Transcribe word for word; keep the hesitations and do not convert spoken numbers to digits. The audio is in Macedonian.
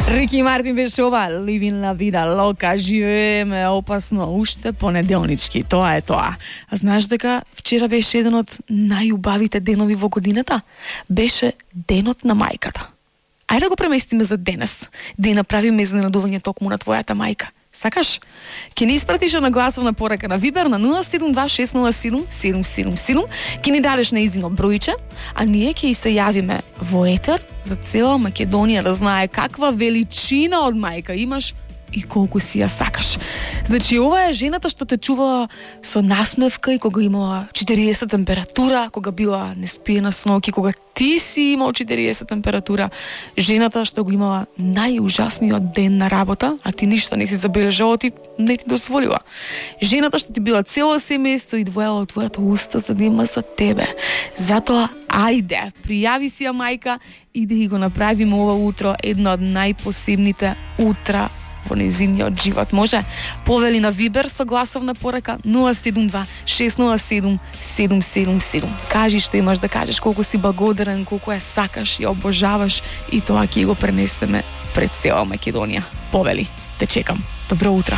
Рики Мартин беше ова, Living la vida loca, живееме опасно, уште понеделнички, тоа е тоа. А знаеш дека вчера беше еден од најубавите денови во годината? Беше денот на мајката. Ајде да го преместиме за денес, да ја направиме изненадување токму на твојата мајка. Сакаш? Ке ни испратиш на гласовна порака на Вибер на нула седум два шест нула седум седум седум седум, ке ни дадеш на изино бројче, а ние ќе и се јавиме во етер за цела Македонија да знае каква величина од мајка имаш и колку си ја сакаш. Значи, ова е жената што те чувала со насмевка и кога имала четириесет температура, кога била неспиена со ноќи, кога ти си имал четириесет температура, жената што го имала најужасниот ден на работа, а ти ништо не си забележала, ти не ти дозволила. Жената што ти била цело семејство и двоела од твојата уста за да има за тебе. Затоа, ајде, пријави си ја мајка и да го направиме ова утро едно од најпосебните утра во незиниот живот. Може? Повели на Вибер со гласовна порака нула седум два шест нула седум седум седум седум. Кажи што имаш да кажеш, колку си благодарен, колку ја сакаш, ја обожаваш и тоа ќе го пренесеме пред цела Македонија. Повели, те чекам. Добро утро.